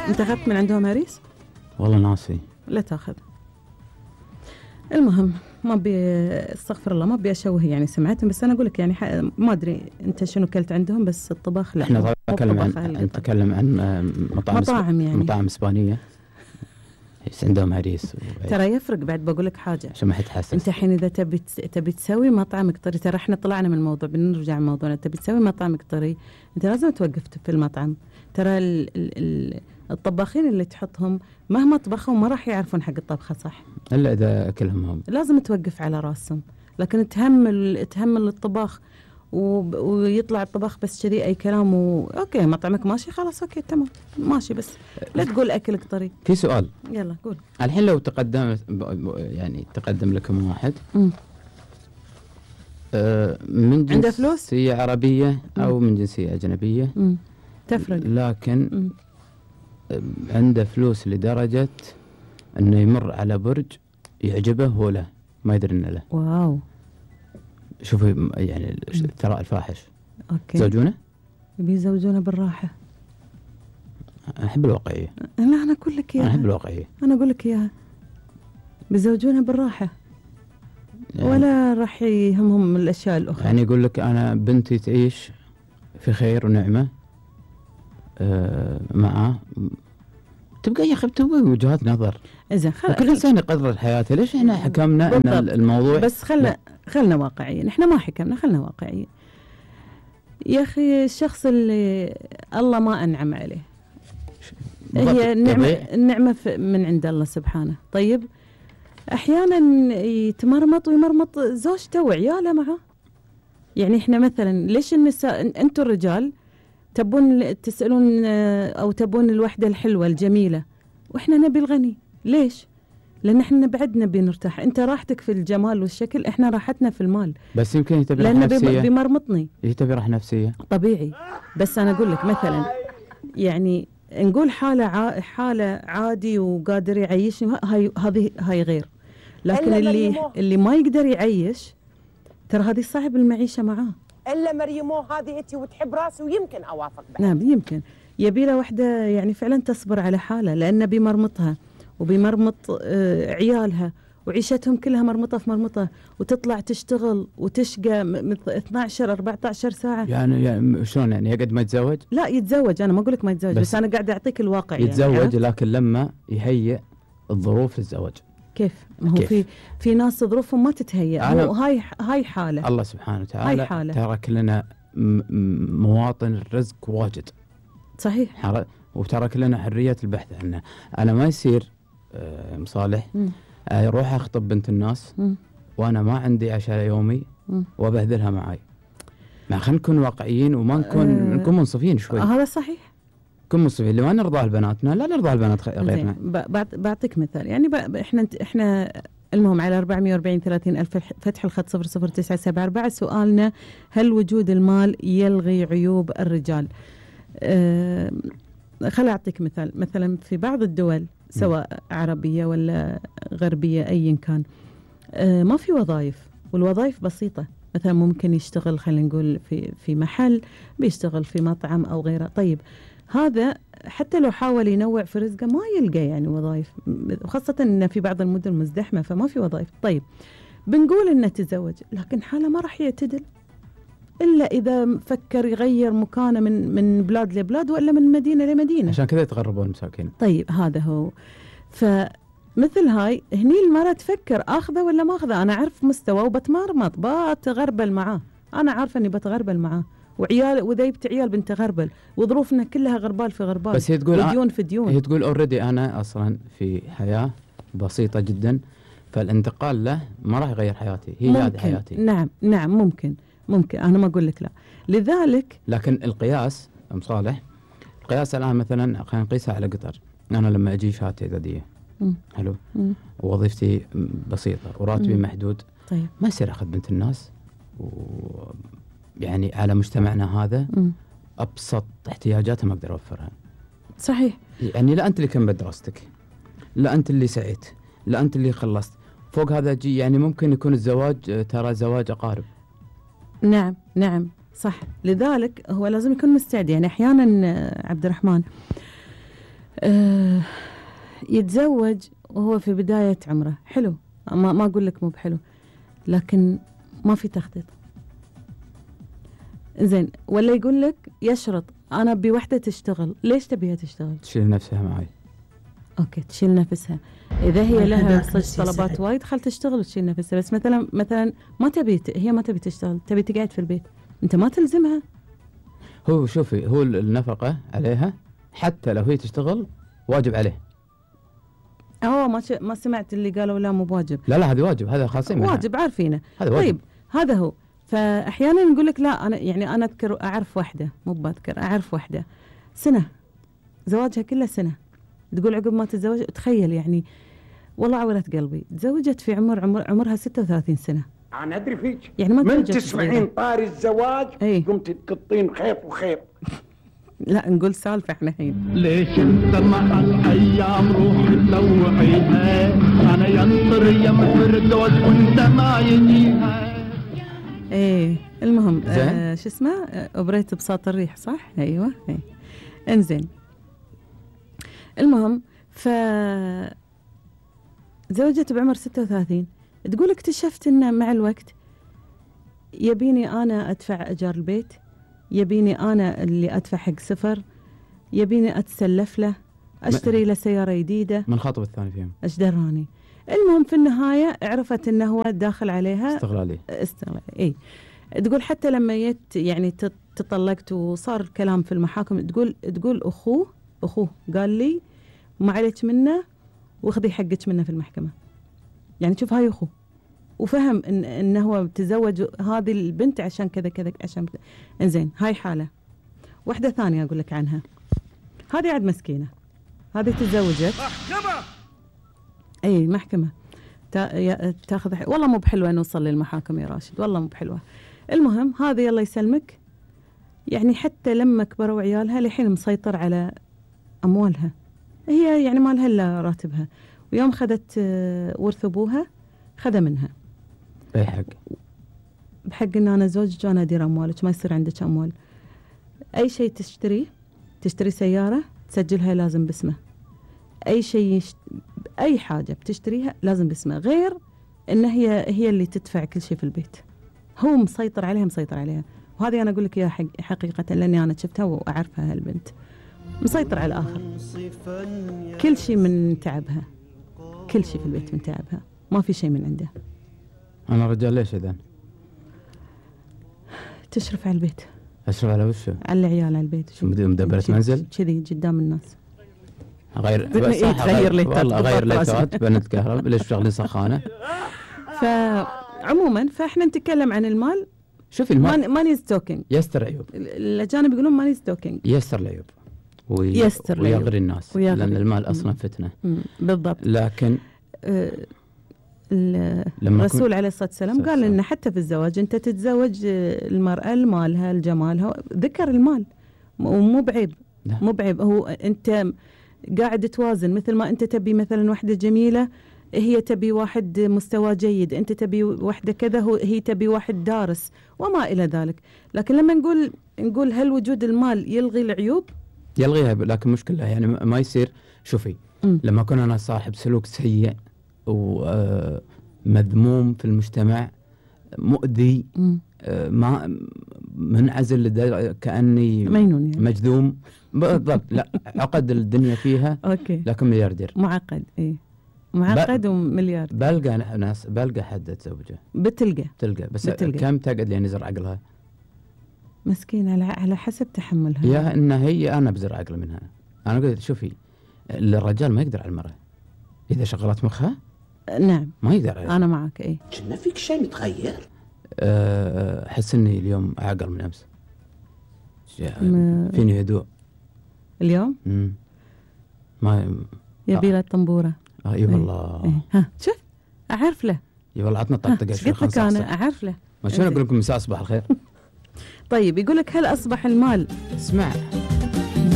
أنت أخذت من عندهم هريس؟ والله ناسي. لا تأخذ. المهم ما بي استغفر الله ما بي أشوه يعني سمعتهم، بس أنا أقول لك يعني ما أدري أنت شنو كلت عندهم، بس الطباخ لا. احنا نتكلم عن مطاعم يعني مطاعم إسبانية عندهم هريس ترى يفرق. بعد بقول لك حاجة عشان ما حد حاسس. أنت حين إذا تبي تسوي مطعم قطري، ترى إحنا طلعنا من الموضوع بنرجع موضوعنا. تبي تسوي مطعم قطري أنت لازم توقف في المطعم. ترى الطباخين اللي تحطهم مهما طبخوا ما راح يعرفون حق الطبخة صح إلا إذا أكلهم هم. لازم توقف على راسهم. لكن تهمل الطباخ ويطلع الطباخ بس كذي أي كلام أوكي مطعمك ماشي خلاص أوكي تمام ماشي، بس لا تقول أكل قطري. في سؤال يلا قول. الحين لو تقدم لكم واحد من جنسية عربية أو من جنسية أجنبية تفرق، لكن عنده فلوس لدرجة أنه يمر على برج يعجبه ولا ما يدري إنه له. واو. شوفي يعني ثراء الفاحش. أوكي. زوجونه؟ بيزوجونه بالراحة. أحب الواقعية. لا أنا أقول لك إياها. أنا أحب الواقعية. أنا أقول لك إياها. بيزوجونه بالراحة. يعني ولا راح يهمهم الأشياء الأخرى. يعني يقول لك أنا بنتي تعيش في خير ونعمة معه. تبقى يا أخي بتبقى وجهات نظر. إذا كل إنسان يقدر حياته. ليش إحنا حكمنا إن الموضوع؟ بس خلنا واقعيين. إحنا ما حكمنا، خلنا واقعيين. يا أخي الشخص اللي الله ما أنعم عليه هي النعمة من عند الله سبحانه. طيب أحيانا يتمرمط ويمرمط زوجته وعياله معه. يعني إحنا مثلا ليش النساء أنتوا الرجال تبون تسألون أو تبون الوحدة الحلوة الجميلة وإحنا نبي الغني؟ ليش؟ لأن إحنا بعد نبي نرتاح. أنت راحتك في الجمال والشكل، إحنا راحتنا في المال. بس يمكن يتبي راحة نفسية. لأنه بيمرمطني. يتبي راحة نفسية. طبيعي. بس أنا أقول لك مثلا يعني نقول حالة عادي وقادر يعيشني هاي غير. لكن اللي ما يقدر يعيش ترى هذه صعب المعيشة معاه. إلا مريمو هذه أنت وتحب راسي ويمكن أوافق بعد. نعم يمكن. يبي له وحدة يعني فعلا تصبر على حالة، لأنه بيمرمطها وبيمرمط عيالها وعيشتهم كلها مرمطة في مرمطة، وتطلع تشتغل وتشقى 12-14 ساعة. يعني شلون يعني يقعد ما يتزوج؟ لا يتزوج. أنا ما أقول لك ما يتزوج، بس أنا قاعدة أعطيك الواقع. يتزوج يعني لكن لما يهيئ الظروف للزواج. كيف؟ ما هو في ناس ظروفهم ما تتهيأ. هاي حالة الله سبحانه وتعالى ترك لنا مواطن الرزق واجد. صحيح. وترك لنا حرية البحث عنه. أنا ما يصير مصالح أروح أخطب بنت الناس وأنا ما عندي عشاء يومي وأبهذلها معي. ما خلينا نكون واقعيين وما نكون منصفين شوي. هذا صحيح. كن منصفين. اللي ما نرضى لبناتنا لا نرضى لبنات غيرنا. بعطيك مثال. يعني احنا المهم على 440-30 ألف فتح الخط 00974. سؤالنا: هل وجود المال يلغي عيوب الرجال؟ خل أعطيك مثال. مثلا في بعض الدول سواء عربية ولا غربية أيا كان ما في وظائف، والوظائف بسيطة. مثلا ممكن يشتغل خلينا نقول في محل، بيشتغل في مطعم أو غيره. طيب هذا حتى لو حاول ينوع في رزقه ما يلقى يعني وظائف، خاصة إن في بعض المدن مزدحمة فما في وظائف. طيب بنقول إنه تزوج، لكن حاله ما راح يعتدل إلا إذا فكر يغير مكانه من بلاد لبلاد ولا من مدينة لمدينة. عشان كذا يتغربون المساكين. طيب هذا هو. فمثل هاي هني المرأة تفكر أخذه ولا ما أخذه. أنا أعرف مستوى وبتمرمط بتغربل معاه. أنا عارفة إني بتغربل معاه وعيال، وإذا جبت عيال بنت غربل وظروفنا كلها غربال في غربال. بس هي تقول وديون في ديون. هي تقول أوريدي أنا أصلا في حياة بسيطة جدا، فالانتقال له ما راح يغير حياتي. هي هذه حياتي. نعم ممكن أنا ما أقول لك لا. لذلك لكن القياس مصالح، القياس الآن مثلا خلينا نقيسها على قطر. أنا لما أجي شهادتي إعدادية حلو ووظيفتي بسيطة وراتبي محدود. طيب ما يصير أخذ بنت الناس يعني على مجتمعنا هذا أبسط احتياجاتها ما أقدر أوفرها. صحيح. يعني لا أنت اللي كملت دراستك، لا أنت اللي سعيت، لا أنت اللي خلصت، فوق هذا جي يعني ممكن يكون الزواج ترى زواج أقارب. نعم صح. لذلك هو لازم يكون مستعد. يعني أحيانا عبد الرحمن يتزوج وهو في بداية عمره حلو، ما أقول لك مو بحلو، لكن ما في تخطيط. زين، ولا يقول لك يشرط أنا بوحدة تشتغل. ليش تبيها تشتغل؟ تشيل نفسها معي. أوكي، تشيل نفسها. إذا هي لها طلبات وايد خل تشتغل وتشيل نفسها. بس مثلا ما تبي، هي ما تبي تشتغل، تبي تقعد في البيت، أنت ما تلزمها. هو شوفي، هو النفقة عليها حتى لو هي تشتغل واجب عليه. ما سمعت اللي قالوا لا مو بواجب. لا هذا واجب، هذا خاصين منها. واجب عارفينه. طيب هذا هو. فأحيانا نقول لك لا، أنا أذكر أعرف واحدة، مو بذكر، أعرف واحدة سنة زواجها كله سنة، تقول عقب ما تتزوج، تخيل يعني والله عورت قلبي، تزوجت في عمرها 36 سنة. أنا أدري فيك يعني ما من تسمعين طاري الزواج قمت تقطين خيط وخيط. لا نقول سالفة احنا الحين. ليش انت مع الايام روح تلوعيها، انا ينطر يم فردوس وانت ما يجيها. المهم شو اسمه، أبريت بساط الريح، صح؟ ايوه. انزين، المهم زوجت بعمر 36. تقول اكتشفت ان مع الوقت يبيني انا ادفع ايجار البيت، يبيني انا اللي ادفع حق سفر، يبيني اتسلف له، اشتري له سياره جديده. من خاطب الثاني فيهم ايش دراني. المهم في النهايه عرفت انه هو داخل عليها استغلالي. تقول حتى لما يعني تطلقت وصار الكلام في المحاكم، تقول اخوه قال لي ما عليك منه واخذي حقك منه في المحكمه. يعني شوف، هاي اخوه وفهم انه هو تزوج هذه البنت عشان كذا كذا عشان انزين. هاي حاله. واحده ثانيه اقول لك عنها، هذه عاد مسكينه، هذه تزوجت محكمه تاخذ والله مو بحلوه نوصل للمحاكم يا راشد، والله مو بحلوه. المهم هذه الله يسلمك، يعني حتى لما كبروا عيالها لحين مسيطر على اموالها، هي يعني ما لها الا راتبها، ويوم خذت ورث ابوها خذ منها بحق ان انا زوجك وانا ادير اموالك، ما يصير عندك اموال. اي شيء تشتري سياره تسجلها لازم باسمه، اي شيء اي حاجه بتشتريها لازم باسمه، غير ان هي اللي تدفع كل شيء في البيت. هو مسيطر عليها. وهذه انا اقول لك اياها حقيقه، لاني انا شفتها واعرفها هالبنت. مسيطر على الاخر، كل شيء من تعبها، كل شيء في البيت من تعبها، ما في شيء من عنده. انا رجال ليش اذا تشرف على البيت؟ اشرف على وشه؟ على العيال، على البيت. شو مدبرة منزل كذي قدام الناس. غير ليتات بنت كهرب ليش شغلين سخانه. فعموما فاحنا نتكلم عن المال. شوفي المال ماني ستوكينج، يستر عيوب. الاجانب يقولون ماني ستوكينج، يستر العيوب ويغري الناس، لان المال اصلا فتنه. بالضبط. لكن الرسول عليه الصلاة والسلام قال لنا حتى في الزواج أنت تتزوج المرأة لمالها لجمالها، ذكر المال ومو بعيب. مو بعيب، هو أنت قاعد توازن، مثل ما أنت تبي مثلا واحدة جميلة، هي تبي واحد مستوى جيد، أنت تبي واحدة كذا، هي تبي واحد دارس وما إلى ذلك. لكن لما نقول هل وجود المال يلغي العيوب؟ يلغيها، لكن مشكلة يعني ما يصير. شوفي لما كنا أنا صاحب سلوك سيء ومذموم في المجتمع، مؤذي، ما منعزل كأني مجنون يعني. مجذوم بالضبط. لا عقد الدنيا فيها. أوكي. لكن ملياردير معقد. معقد ومليار. بلقى حد تزوجه. تلقى بس كم تقعد لين يزر عقلها مسكين، على حسب تحملها. يا ان انا بزر عقل منها. انا قلت شوفي، الرجال ما يقدر على المرأة اذا شغلت مخها. نعم ما يقدر عليها. انا معك. كنا فيك شيء متغير. احس اني اليوم اعقل من امس، فيني هدوء اليوم. ما يبي له الطنبوره. اي والله. ها شوف اعرف له. اي والله عطنا طقطقه شوي. قلت لك انا اعرف له. ما شلون اقول لكم مساء صباح الخير. طيب يقول لك هل اصبح المال، اسمع